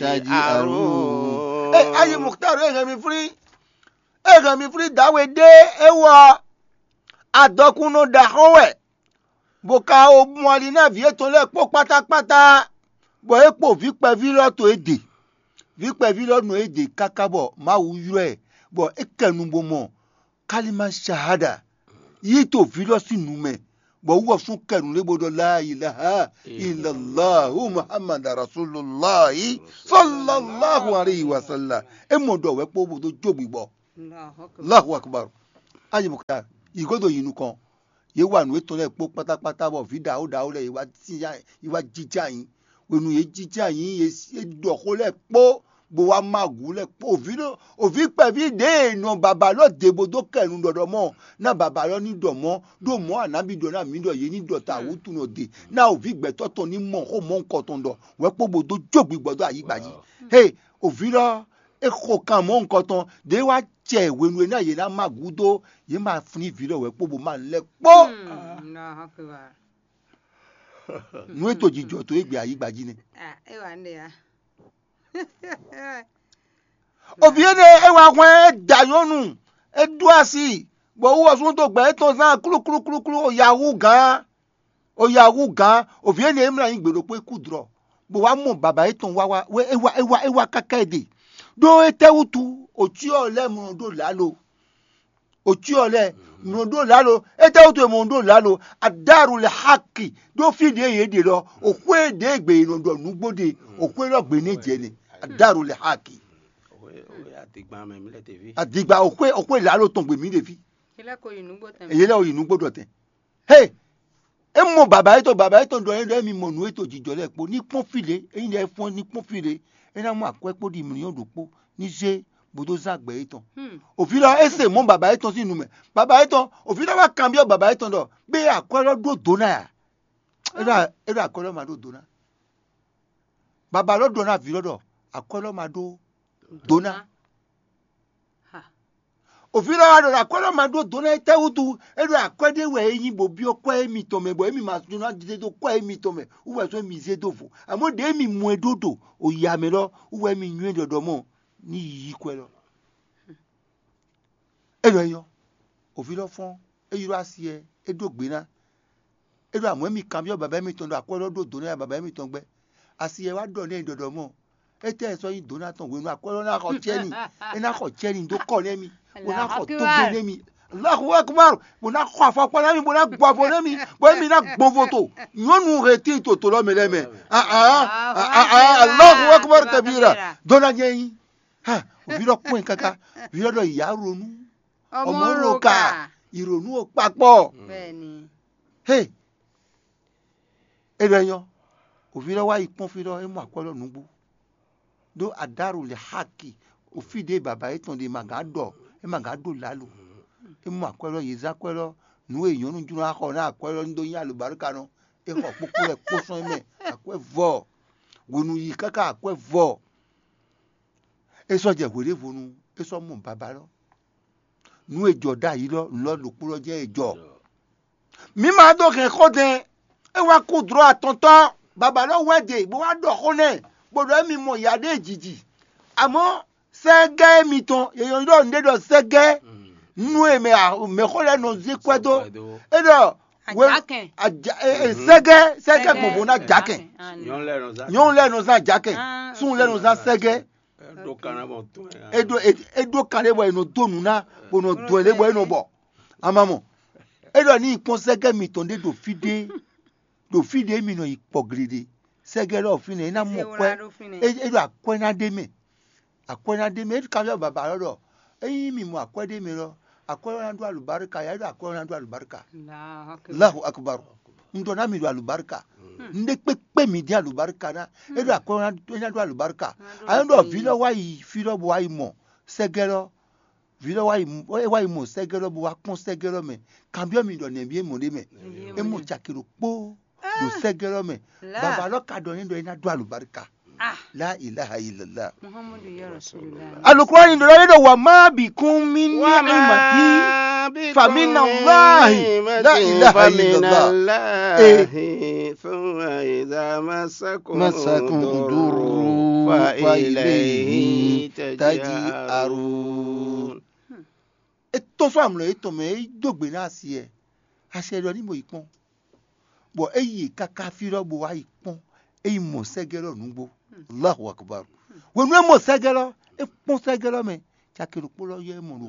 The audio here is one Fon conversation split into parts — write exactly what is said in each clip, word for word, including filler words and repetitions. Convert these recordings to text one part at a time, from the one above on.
Taji aru. Ɛ ayi Mukutaru e hɛn mi flín, e hɛn mi flín dǎwe ɖé é wɔ adɔkunnɔ ɖaxó wɛ, bó ka o mɔ ali ná vǐ etɔn lɛ́ɛ kpó kpátákpátá, bɔ é kpo vǐ kpɛví lɔ to é ɖe. Vǐ kpɛví lɔ nɔ é ɖe káká bɔ Mawu ylɔ́ ɛ, bɔ é kɛ nu bó mɔ kálímà shahada yí to vǐ lɔ sín nu mɛ, bɔ wú ɔ́ sún kɛ nǔ lé bó ɖɔ la ilaha illallahu Muhammad Rasulullahi sallallahu alayhi wa sallam. É mɔ ɖɔ wɛ kpó bó dó jó gbigbɔ. Allahu akbar. Ayi bó ka yi godo yi nukɔn. Yě wa nǔ étɔn lɛ́ɛ kpó kpátákpátá bɔ vǐ ɖaxó ɖaxó lɛ́ɛ yi wá jínjá yi wá jínjá yi. Hwenu yě jínjá yi yě ɖɔ xó lɛ́ɛ kpó bó wá má gǔ lɛ́ɛ kpó. Òví ɖo òví kpɛví ɖě e nɔ baba lɔ dě bó dó kɛ nu ɖɔɖɔ mɔ ná baba lɔ ní ɖɔ mɔ̌ ɖó mɔ̌ anábì ɖɔ ná mǐ ɖɔ yě ní ɖɔ ta wútu nɔ dě ná òví gbɛtɔ́ tɔn ní mɔ xó mɔ̌ nukɔn tɔn ɖɔ wɛ kpó bó dó jó gbigbɔ dó ayǐ gba jí. He, òví lɔ é xo kan mɔ̌ nukɔn tɔn ɖě wá jɛ hwenu e ná yě ná má gǔ dó yě ma flín vǐ lɔ wɛ kpó bó má lɛ́ kpó. Nú é to jijɔ to é gbé ayǐ gba jí nɛ́. Ah, é wà nɖe ya. Òbí énɛ́ é wá hwɛ́n é da nyɔ́nu, é ɖó asi, bɔ wú ɔ́ súnnu dó gbɛ étɔn zán klúklúklúklú, o ya hú gǎn, o ya hú gǎn. Òbí énɛ́ é mlá nyi gbe ɖokpó é kú dlɔ, bó wá mɔ baba étɔn wá wá é wá é wá é wá káká ɛ ɖe. Ɖó étɛ́ wútu òcyɔ lɛ́ɛ mlɔ ɖó lǎlo? Òcyɔ lɛ́ɛ mlɔ ɖó lǎlo? Étɛ́ wútu è mlɔ ɖó lǎlo? Adáru lɛ haki ɖó fí ɖě yě ɖe lɔ, òxwé ɖě gbe è nɔ ɖɔ nǔgbó ɖe, òxwé lɔ gbe ní jɛ nɛ. Adáru lɛ haki. Adigba òxwé òxwé lǎlo tɔn gbe mǐ ɖe fí. Yě lɛ́ ko yi nǔgbó tɛn. Yě lɛ́ ko yi nǔgbó ɖɔ tɛn. He, é mɔ baba yětɔn, baba yětɔn ɖɔ é ɖɔ émi mɔ nǔ e to jijɔ lɛ́ɛ kpó ní kpɔ́n fí lě, ényí ɖɔ é fɔ́n ní kpɔ́n fí lě, é ná mɔ akwɛ́ kpó ɖi mlǐɔ́ ɖokpó ní zé bó dó zán gbɛ yětɔn. Òví lɔ é se mɔ̌ baba yětɔn sín nu mɛ. Baba yětɔn, òví lɔ wá kanbyɔ́ baba yětɔn ɖɔ bé akwɛ́ lɔ ɖó dǒ ná a? É ɖɔ é ɖɔ akwɛ́ lɔ ma ɖó dǒ ná. Baba lɔ ɖɔ ná vǐ lɔ ɖɔ akwɛ́ lɔ ma ɖó dǒ ná. Òví lɔ wá ɖɔ akwɛ́ lɔ ma ɖó dǒ ná étɛ́ wútu? É ɖɔ akwɛ́ ɖé wɛ é nyí bó byɔ́ kwɛ́ émitɔn mɛ, bɔ émi ma jló ná zé dó kwɛ́ émitɔn mɛ, wú wɛ sɔ́ émi zé dó vo. Amɔ̌ ɖě émi mɔ ɛ ɖó ɖo oya mɛ lɔ, wú wɛ émi nywɛ́ ɖɔɖɔ mɔ ní yiyi kwɛ́ lɔ. É ɖɔ é nyɔ́, òví lɔ fɔ́n, é ylɔ́ asi ɛ, é ɖó gbe ná. É ɖɔ amɔ̌ émi kanbyɔ́ baba émitɔn ɖɔ akwɛ́ lɔ ɖó dǒ ná ya baba émitɔn gbɛ́. Asi ɛ wá ɖɔ nɛ́ ɖɔɖɔ mɔ. Étɛ́ sɔ́ nyí dǒ ná tɔn hwenu akwɛ́ lɔ ná xɔ cɛ́ni? É ná xɔ cɛ́ni dó kɔ nɛ́ mì, bó ná xɔ tógbé nɛ́ mì. Allahu akbar, bó ná xɔ afɔkpa ná mì, bó ná gbɔ avo nɛ́ mì, bó émi ná gbɔn vo to nyɔ̌nu he tín toto lɔ mɛ lɛ́ɛ mɛ. Allahu akbar kabira. Dó ná nyɛ nyí. Ha, òví lɔ kpɔ́n ɛ káká, òví lɔ ɖɔ ìyá ronú, ọmọ ro ka, ìrònú ò papọ̀. Bẹ́ẹ̀ni. He, é ɖɔ é nyɔ́, òví lɔ wá yi kpɔ́n fí lɔ, é mɔ akwɛ́ lɔ nǔgbó. Ɖó aɖáru lɛ haki, òfí ɖě baba yětɔn ɖe ma gǎn ɖɔ, é ma gǎn ɖó lǎlo. É mɔ akwɛ́ lɔ, yě zán akwɛ́ lɔ, nǔ e nyɔ̌nu jló ná xɔ ná akwɛ́ lɔ ní ɖó nyí alǒbáríkanɔ. É xɔ kpókpó lɛ kpó sɔ́n é mɛ, akwɛ́ vɔ. Hwenu yi káká akwɛ́ vɔ. É sɔ́ jɛ hweɖěvonu, é sɔ́ mɔ baba lɔ. Nú è jɔ ɖ'ayǐ lɔ, nǔ lɔ ɖokpó lɔ jɛ́n è jɔ. Mǐ ma dó hɛn xó dɛn, é wá kú dlɔ̌ atɔntɔ́, baba lɔ wɛ ɖe bó wá ɖɔ xó nɛ́, bó ɖɔ émi mɔ yǎ ɖé jǐjǐ. Amɔ̌ sɛ́gɛ́ mitɔn, yě nyɔ́ ɖɔ nǔɖé ɖɔ sɛ́gɛ́, nú e mɛ mɛxó lɛ́ɛ nɔ zé kwɛ́ dó. É ɖɔ Ajakɛn. Aja- e- e- sɛgɛ sɛgɛ gbɔngbɔn na jakɛn. Nyɔnu lɛ nɔ zan. Nyɔnu lɛ nɔ zan jakɛn. Súnnu lɛ nɔ zan sɛgɛ. Ɖo kan na bɔ tún ɛ. Eɖo e- eɖo kan ɖe bɔ enɔ do nu na bɔ nɔ do ɛ lé bɔ enɔ bɔ. Amamɔ. Eɖɔ ni kpɔn sɛgɛ mitɔn ɖe ɖo fi ɖe, ɖo fi ɖe mi nɔ yi kpɔ gli ɖe. Sɛgɛ lɔ fi nɛ ena mɔ kwɛ. Eɖo akwɛ na ɖe mɛ. Akwɛ na ɖe mɛ. Eɖo kan yɔ baba lɔ ɖɔ eyi mi mɔ akwɛ ɖe mɛ lɔ, akwɛ lɔ na ɖo alubarika ya. Eɖo akwɛ lɔ na ɖo alubarika. Allahu akbar. Ŋdɔ na mi ɖo alubarika. Ŋɖe kpekpe mi ɖe alubarika na. Eɖo akwɛ lɔ na ɖo alubarika. Ayɔ ɖɔ vi lɔ wa yi fi lɔ bo wa yi mɔ sɛgɛ lɔ. Vi lɔ wa yi mɔ sɛgɛ lɔ bo wa kpɔn sɛgɛ lɔ mɛ. Kanbiɔ mi ɖɔ nɛbi e mɔ ɖe mɛ. E mɔ caki ɖokpo ɖo sɛgɛ lɔ mɛ. Baba lɔ ka ɖɔ ne ɖɔ e na ɖo alubarika. La ilaha illallah. Muhammadu ya rasulullah. Alukura ni ɖɔ ne ɖɔ wa ma bi kun mi ni imati. Fa min Allahi. La ilaha illallah. Eh. Masakun duru. وإليه تجأرون. É tɔ́n sɔ́ amlɔ yětɔn mɛ, é dó gbe ná asi ɛ, asi ɛ ɖɔ ní mo yi kpɔ́n. Bɔ é yi káká fí lɔ bó wá yi kpɔ́n, é yi mɔ sɛ́gɛ́ lɔ nǔgbó. Allahu akbar. Hwenu é mɔ sɛ́gɛ́ lɔ, é kpɔ́n sɛ́gɛ́ lɔ mɛ, caki ɖokpó lɔ yɔ é mɔ ɖo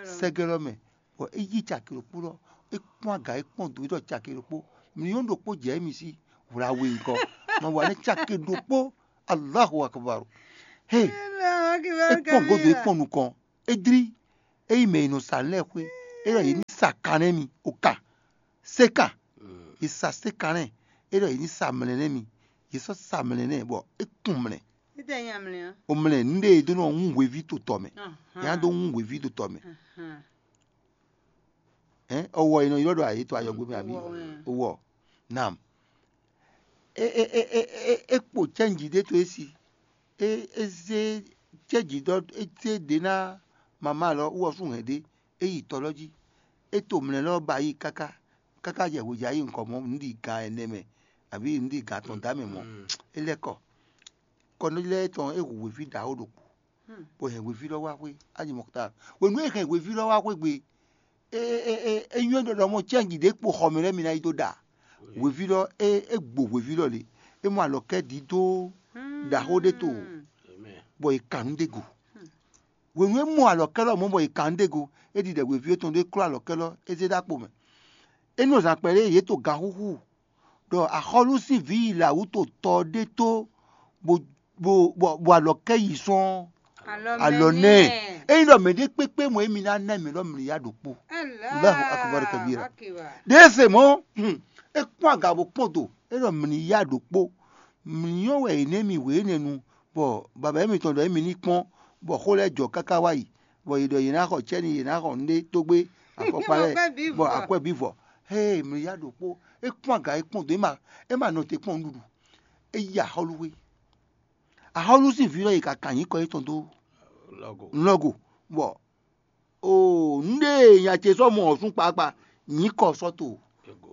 sɛ́gɛ́ lɔ mɛ. Bɔ é yí caki ɖokpó lɔ, é kpɔ́n aga, é kpɔ́n dǒ, é ɖɔ caki ɖokpó. Mǐ nyɔ́ ɖokpó jɛ émí sí hwla we ŋkɔ. Ma wa nɛ́ caki ɖokpó. Allahu akbar. He, é kpɔ́n gǒdo, é kpɔ́n nukɔn. É dlí, é yi mɛ e nɔ sa nǔ lɛ́ɛ xwé, é ɖɔ yě ní sa kan nɛ́ mì, o kan, sé kan. Yě sa sé kan nɛ́, é ɖɔ yě ní sa mlɛ̌ nɛ́ mì. Yě sɔ́ sa mlɛ̌ nɛ́, bɔ é kun mlɛ̌. Títí nya mlɛ́ á. O mlɛ̌ nǔɖé e dó nɔ hún hweví to tɔ mɛ. Nya dó hún hweví to tɔ mɛ. Hɛn, ɔwɔ e nɔ ylɔ́ ɖɔ ayě to ayɔgbe mɛ, abǐ? Owɔ. Nam. É é é é é é kpo cɛ́nji ɖé to é sí. É é zé cɛ́nji ɖɔ é zé ɖě ná mama lɔ wú ɔ́ sú hɛn ɖé, é yi tɔ lɔ jí. É to mlɛ̌ lɔ ba yi káká, káká jɛ hweja yi nukɔn mɔ̌, nǔɖigan ɛnɛ mɛ, abǐ nǔɖigan atɔn dǎ mɛ mɔ̌. É lɛ́ kɔ. Kɔnɔ́ lɛ́ɛ tɔn é hu hweví ɖaxó ɖokpó, bó hɛn hweví lɔ wá xwé Aji Mɔkuta. Hwenu e é hɛn hweví lɔ wá xwé gbe, é é é é nywɛ́ ɖɔ ɖɔ mɔ cɛ́nji ɖě kpo xɔ mɛ lɛ́ɛ mi ná yi dó ɖa. Hweví lɔ é é gbo hweví lɔ lě, é mɔ alɔkɛ́ ɖǐ dó ɖaxó ɖé to, bɔ è kan nǔ ɖé go. Hwenu e é mɔ alɔkɛ́ lɔ mɔ̌ bɔ è kan nǔ ɖé go, é ɖiɖɛ hweví étɔn ɖé klɔ́ alɔkɛ́ lɔ, é zé ɖó akpo mɛ. É nɔ zǎn kpɛɖé yě to ganxúxú ɖɔ axɔ́lú sín vǐ yi lǎwú to tɔ ɖé tó, bó bó bó bó alɔkɛ́ yi sɔ́n alɔ nɛ. Ényí ɖɔ mɛɖé kpékpé mɔ émi ná ná mɛ lɔ mlǐya ɖokpó. Allahu akbar kabira. Ɖěe se mɔ̌, é kpɔ́n aga bó kpɔ́n do, é ɖɔ mlǐya ɖokpó. Mǐ nyɔ́ wɛ è nɛ́ mi wě énɛ́ nu, bɔ baba émitɔn ɖɔ émi ní kpɔ́n, bɔ xó lɛ́ɛ jɔ káká wá yi, bɔ yě ɖɔ yě ná xɔ cɛ́ni, yě ná xɔ nǔɖé tógbé afɔkpa lɛ́ɛ, bɔ akwɛ́ bǐ vɔ. Hée, mǐ ya ɖokpó, é kpɔ́n aga, é kpɔ́n dǒ, é ma é ma nɔ te kpɔ́n nǔɖuɖu. É yi axɔ́lúxwé. Axɔ́lú sín vǐ lɔ yi ka kan nyǐkɔ yětɔn dó nlɔ́go, bɔ oo nǔɖé e nya ce sɔ́ mɔ ɔ̌ sún kpakpa, nyǐkɔ sɔ́ to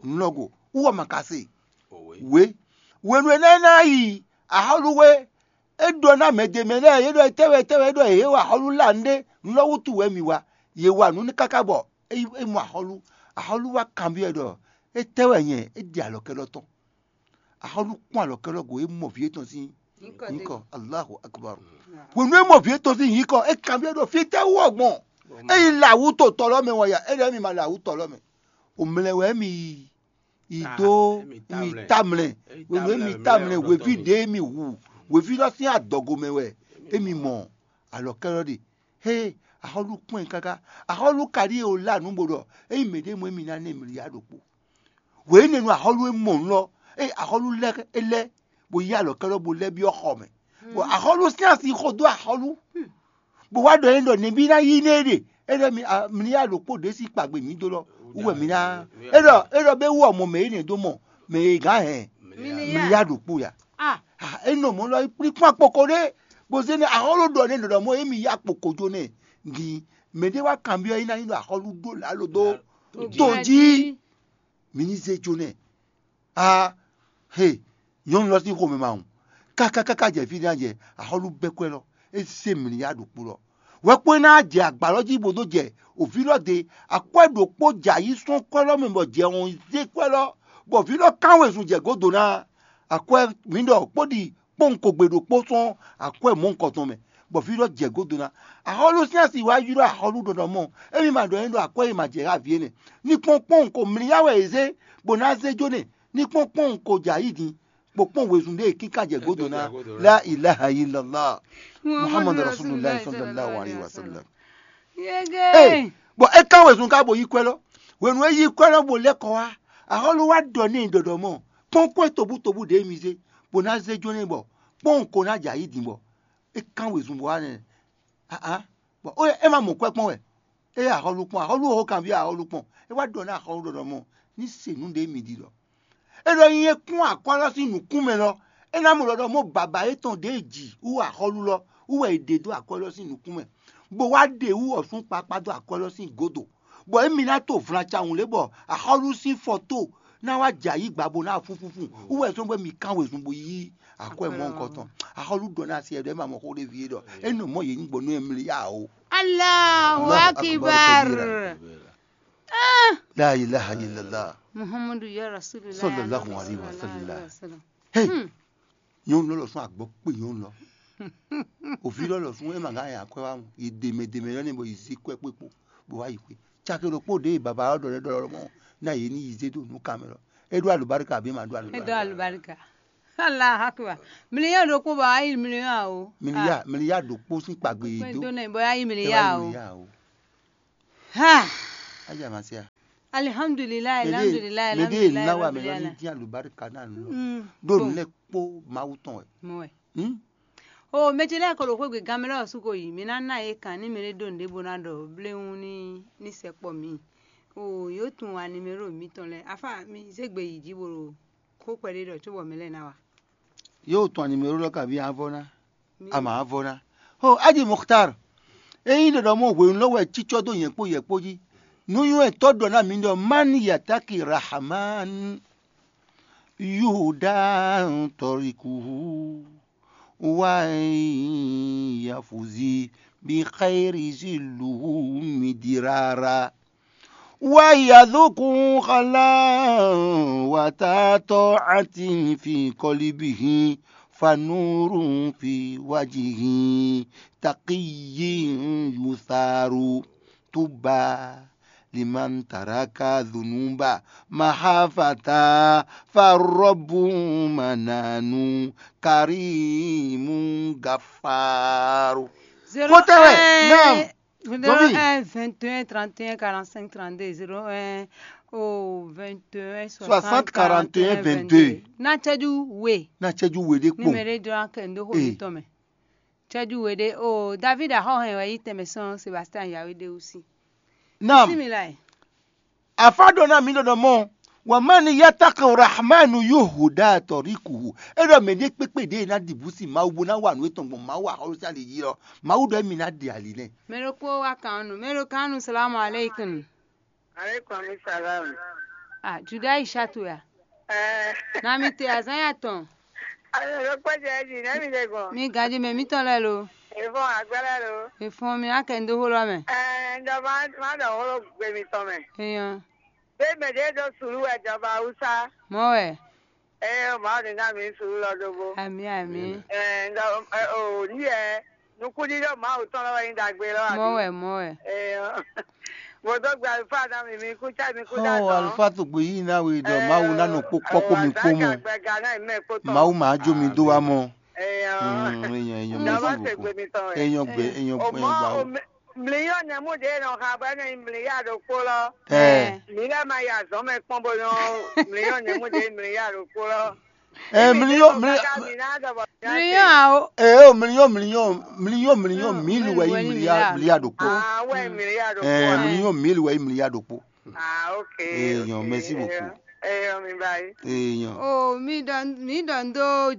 nlɔ́go, wú ɔ́ ma ka se. Wě hwenu e ná ná yi axɔ́lúxwé, é ɖɔ ná mɛ ɖě mɛ lɛ́ɛ, é ɖɔ étɛ́ wɛ, étɛ́ wɛ, é ɖɔ yě wa axɔ́lú lá nǔɖé, nú lɔ wútu wɛ mǐ wa. Yě wa nǔ nú káká bɔ é mɔ axɔ́lú. Axɔ́lú wá kanbyɔ́ ɛ ɖɔ étɛ́ wɛ nyɛ é ɖi alɔkɛ́lɔ́ tɔn. Axɔ́lú kpɔ́n alɔkɛ́lɔ́ go, é mɔ vǐ étɔn sín nyǐkɔ. Allahu akbar. Hwenu é mɔ vǐ étɔn sín nyǐkɔ, é kanbyɔ́ ɖɔ fítɛ́ wú ɔ́ gbɔn. É yi lǎwú to tɔ lɔ́ mɛ wɛ ya, é ɖɔ émi ma lǎwú tɔ lɔ́ mɛ. O mlɛ wɛ émi yi yi dó mi tamlɛ. Hwenu émi tamlɛ, hweví ɖě émi hu, hweví lɔ sín adɔgo mɛ wɛ émi mɔ alɔkɛ́lɔ́ ɖe. Hé, axɔ́lú kpɔ́n ɛ káká. Axɔ́lú ka ɖíe o lá nǔ bo ɖɔ ényí mɛɖé mɔ émi ná nɛ mǐ ya ɖokpó. Hwe énɛ́ nu axɔ́lú e mɔ nǔ lɔ, eye axɔ́lú lɛ́ é lɛ́, bó yí alɔkɛ́lɔ́ bó lɛ́ byɔ́ xɔ mɛ. Bɔ axɔ́lú sín asi xo dó axɔ́lú, bó wá ɖɔ é ɖɔ nɛbí ná yí nɛ é ɖe. É ɖɔ mi a- mi ní yá ɖokpó ɖě sí kpagbe mǐ dó lɔ wú wɛ mi ná. É ɖɔ é ɖɔ bɛ wú ɔmɔ mɛ énɛ́ dó mɔ mɛ e gǎn hɛn mi ní yá ɖokpó ya. Ah, é nɔ mɔ lɔ kplí kpɔ́n akpoko ɖé, bó zé nɛ axɔ́lú ɖɔ nɛ ɖɔɖɔ mɔ émi yá kpoko jó nɛ. Din mɛ ɖé wá kanbyɔ́ é ná nyí ɖɔ axɔ́lú ɖó lǎlo dó to jí. Mi ní zé jó nɛ. A he, nyɔ̌nu lɔ sín xomɛ ma hun. Káká káká jɛ fí ná jɛ axɔ́lú bɛ́ kwɛ́ lɔ, é zé mǐ ya ɖo kpo lɔ. Wɛkpɔ́ ná jɛ agbǎ lɔ jí bó dó jɛ òví lɔ de. Akwɛ́ ɖokpó jɛ ayí sɔ́n kwɛ́ lɔ mɛ bɔ jɛ hɔn zé kwɛ́ lɔ, bɔ vǐ lɔ kán wezun jɛ gǒdo ná. Akwɛ́ mǐ ɖɔ kpó ɖi kpɔ́n kogbe ɖokpó sɔ́n akwɛ́ mɔ̌hunkɔtɔn mɛ, bɔ vǐ lɔ jɛ gǒdo ná. Axɔ́lú sín asi wá ylɔ́ axɔ́lú ɖɔɖɔ mɔ, émi ma ɖɔ é ɖɔ akwɛ́ e ma jɛ xá vǐ énɛ́. Ní kpɔ́n kpɔ́n ko mlí yá wɛ è zé, bó ná zé jó nɛ. Ní kpɔ́n kpɔ́n ko jɛ ayí din, bó kpɔ́n wezun ɖé e kíká jɛ gǒdo ná. La ilaha illallah. Muhammadu Rasulullah sallallahu alaihi wasallam. Ee, bɔ é kán wezun ká bo yí kwɛ́ lɔ. Hwenu e yí kwɛ́ lɔ bo lɛ́ kɔ wá, axɔ́lú wá ɖɔ n'i ɖɔɖɔ mɔ, kpɔ́n kwɛ́ tobutobu ɖě mi zé, bó ná zé jó n'i bɔ kpɔ́n ko ná jɛ ayí din bɔ é kán wezun bɔ wá nɛ. Aa, bɔ é ma mɔ kwɛ́ kpɔ́n wɛ. É axɔ́lú kpɔ́n, axɔ́lú ho kanví axɔ́lú kpɔ́n. É wá ɖɔ nú axɔ́lú ɖɔɖɔ mɔ, ní se nǔ ɖě mi ɖi ɖɔ. É ɖɔ nyi é kún akwɛ́ lɔ sín nǔkún mɛ lɔ, é ná mɔ ɖɔɖɔ mɔ baba yětɔn ɖě e jǐ wú axɔ́lú lɔ wú wɛ è ɖe dó akwɛ́ lɔ sín nǔkún mɛ, bó wá ɖe wú ɔ̌sún kpakpá dó akwɛ́ lɔ sín gǒdo, bɔ émi ná to vlancawun lě bɔ axɔ́lú sín fɔto Ná wá jɛ ayǐ gba bó ná fúnfúnfún. Wú wɛ sɔ́ bɔ mi kán wezun bó yí akwɛ́ mɔ nukɔn tɔn. Axɔ́lú ɖɔ ná se ɖɔ é ma mɔ xó ɖé ví é ɖɔ é nɔ mɔ yě ní gbɔ nú ɛ mlí yá o. Allahu Allahu akbar akbar. Kabira. La ilaha illallah. Muhammadu ya Rasulullah. Sallallahu alaihi wasallam. Hey. Nyɔnu lɔ lɔ sún agbɔ kpe nyɔnu lɔ. Òvi lɔ lɔ sún ema gán ya kwɛ wa mu. Yi deme deme lɔ ne bɔ yi zi kwɛ kpekpo bɔ wa yi kwɛ. Cake ɖokpo ɖe baba lɔ ɖɔ lɛ ɖɔ lɔ mɔ na yě ní yi zé do nú kan mɛ lɔ. É ɖó alubarika àbí ma ɖó alubarika? É ɖó alubarika. Allahu akbar. Miliya ɖokpo bɔ ayi miliya o. Miliya miliya ɖokpo sín kpagbe yi do. Kpɛdó nɛ bɔ ayi miliya o. Ha. Aja ma se a. Alihamdulilayi, alihamdulilayi, mɛ ɖe alihamdulilayi, ná wa mɛ lɔ ní alihamdulilayi. Dín alubarika ná nù lɔ. Mm, ɖó bon. Nú lɛ kpó Mawu tɔn wɛ. Mɔ wɛ. Hmm? O mɛ ce lɛ́ɛ ko ɖo xwé gbe gan mɛ lɛ́ɛ ɔ́ su ko yi, mi ná ná yě kan ní mɛ ɖé ɖó nǔɖé bó ná ɖɔ bléwún ní ní sɛkpɔ mi. O yǒ tunwun animero mitɔn lɛ́ɛ, afá mi zé gbe yi jí bó ɖo xó kpɛɖé ɖɔ cóbɔ mɛ lɛ́ɛ ná wa. Yóò tɔn animero lɔ kabi avɔ ná. Ama avɔ ná. Ho Aji Muxtar, ényí ɖɔɖɔ mɔ hwenu lɔ wɛ cícɔ dó yɛ̌kpó yɛ̌kpó jí. Nú nywɛ́tɔ́ ɖɔ ná mi ɖɔ mani yataki Rahaman yuda tɔrikuhu wa yafuzi bi xayiri ziluhu midirara. Wa yazuku xalan wa tatɔ ati fi kɔlibihi fa nuru fi wajihi takiyi yusaru tuba liman taraka dhunuba mahafata fa rɔbu mananu karimu gafaru. Kótó wɛ náà. Zéro un, vingt et un, trente et un, quarante-cinq, trente-deux, zéro un, oh, vingt et un, soixante, quarante et un, vingt-deux. Ná cɛ́jú we. Ná cɛ́jú we ɖé kpɔn. Numéro dɔ akɛ ndo xo mi tɔn mɛ. Cɛ́jú we ɖé o David axɔhɛn wɛ yi tɛmɛ sɔn Sébastien Yahweh de aussi. Naam. Bismillah. Afa ɖɔ ná mi ɖɔ ɖɔ mɔ wamani yataka rahmanu yuhuda tɔrikuhu. E ɖɔ mɛ ɖe kpekpe ɖe ná ɖi busi Mawu bó ná wa nǔ etɔn gbɔn Mawu axɔlú sín ali jí lɔ Mawu ɖɔ émi ná ɖe ali nɛ. Mɛ ɖokpó wá kan nú mɛ ɖo kan nú salamu aleykum. Aleykum salam. Ah, Juda Ishatu ya. Eh. Na mi te azan ya tɔn. Ayo ɖokpó jɛ jí nɛ mi ɖe gbɔn. Mi gaji mɛ mi tɔn lɛ lo. Efɔn agbɛlɛ lo. Efɔn mi akɛ ndo ho lɔ mɛ. Eh, ndɔ ma ma dɔ holo gbe mi tɔn mɛ. Eyan. Be mɛ ɖe ɖo sulu wɛ jɔba Hausa. Mɔ wɛ. Ee, Mawu ní ná mi sulu lɔ ɖokpó. Ami ami. Ee, ndɔ o ní yɛ nukúndíɖó Mawu tɔn lɔ wɛ nyí ɖagbe lɔ. Mɔ wɛ mɔ wɛ. Ee, mo dó gbe alifá ná mi mi kú tsá mi kú dá. Ɔ alifá tó gbé yìí náà wí ɖɔ Mawu ná nɔ kpó kpɔ́ kó mi kpó mɔ. Mawu máa jó mi dó wá mɔ. Ee, èèyàn èèyàn mẹ́sì wò kó èèyàn gbẹ èèyàn gbẹ gbà wò. Mliyɔn nɛmú ɖě nɔ xa bɔ é nɔ nyi mliya ɖokpó lɔ. Ɛ. Mi lɛ́ ma yi azɔ̌ mɛ kpɔ́n bó nɔ mliyɔn nɛmú ɖě mliya ɖokpó lɔ. Ɛ mliyɔn mliyɔn. Mliyɔn awo. Ɛ o mliyɔn mliyɔn mliyɔn mliyɔn mil wɛ yi mliya mliya ɖokpó. Awɛ mliya ɖokpó. Ɛ mliyɔn mil wɛ yi mliya ɖokpó. Ah, ok. Èèyàn mẹ́sì wò kó. Èèyàn mi báyìí. Èèyàn. O mi dɔn mi dɔn do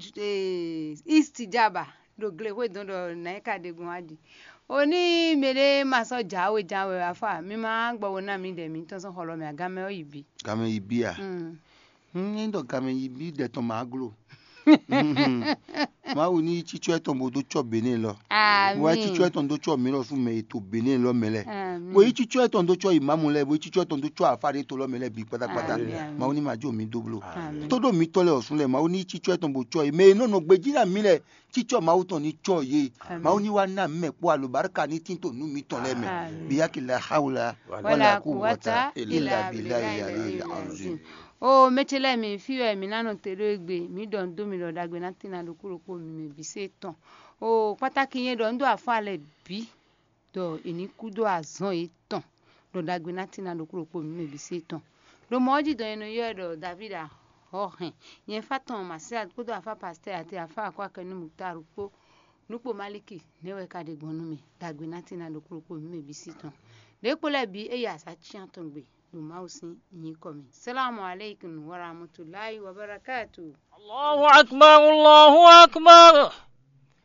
east jaba. Ɖo glexwé dɔn ɖɔ nǎ yi ka ɖe gbɔn wá ɖi. O ní mɛɖé ma sɔ́ jǎwe jǎwe wɛ afá mi ma gbɔ wo ná mi ɖɛ mi tɔn sɔ́ xɔlɔ mɛ agamɛ ɔ́ yi bi. Gamɛ yi bí a? Mm. Hmm, ní ɖɔ gamɛ yi bí ɖɛ tɔn ma glo. Mawu ní cícɔ etɔn bó dó cɔ Benin lɔ. Wá Ami. Cícɔ etɔn dó cɔ mǐ lɔ sú mɛ ètò Benin lɔ mɛ lɛ. Ami. Bó yí cícɔ etɔn dó cɔ imamu lɛ, bó yí cícɔ etɔn dó cɔ afa ɖé to lɔ mɛ lɛ bí kpátákpátá. Ami, ami. Mawu ní ma jó mi dó bló. Ami. Tó ɖó mi tɔ lɛ ɔsùn lɛ, Mawu ní cícɔ etɔn bó cɔ yé. Mɛ e nɔ nɔ gbejí ná mi lɛ, cícɔ Mawu tɔn ní cɔ yé. Ami. Mawu ní wá ná mɛ kpó alo barika ní tín to nú mi tɔn lɛ mɛ. Ami. Biyaki la hawla wala kuwata ila bila ya le azim. O mɛ ce lɛ́ɛ mi, fí wɛ mǐ ná nɔ te ɖó égbé, mǐ ɖɔ nǔ dó mi ɖɔ ɖagbe ná tín ná ɖokpó ɖokpó mi mɛ bǐ sé tɔn. O kpátákí nyɛ ɖɔ un ɖó afɔ alɛ bǐ ɖɔ è ní kú dó azɔn yětɔn, ɖɔ ɖagbe ná tín ná ɖokpó ɖokpó mi mɛ bǐ sé tɔn. Ɖo mɔ̌ ɔ́ jí dɔn è nɔ ylɔ́ ɛ ɖɔ David Ahɔhɛn, nyɛ fá tɔn Masial kpódó afá Pastɛ́ɛ àti afá Akwákɛnúmu Taru kpó nǔkpó Maliki nɛ́ wɛ ka ɖe gbɔn nú mì, ɖagbe ná tín ná ɖokpó ɖokpó mi mɛ bǐ sí tɔn. Ɖěkpo lɛ́ɛ bǐ é yi azǎ cyán tɔn gbe ɖo Mawu sín nyǐkɔ mɛ. Salamu aleykum wa rahmatulahi wa barakatu. Allahu akbar, Allahu akbar.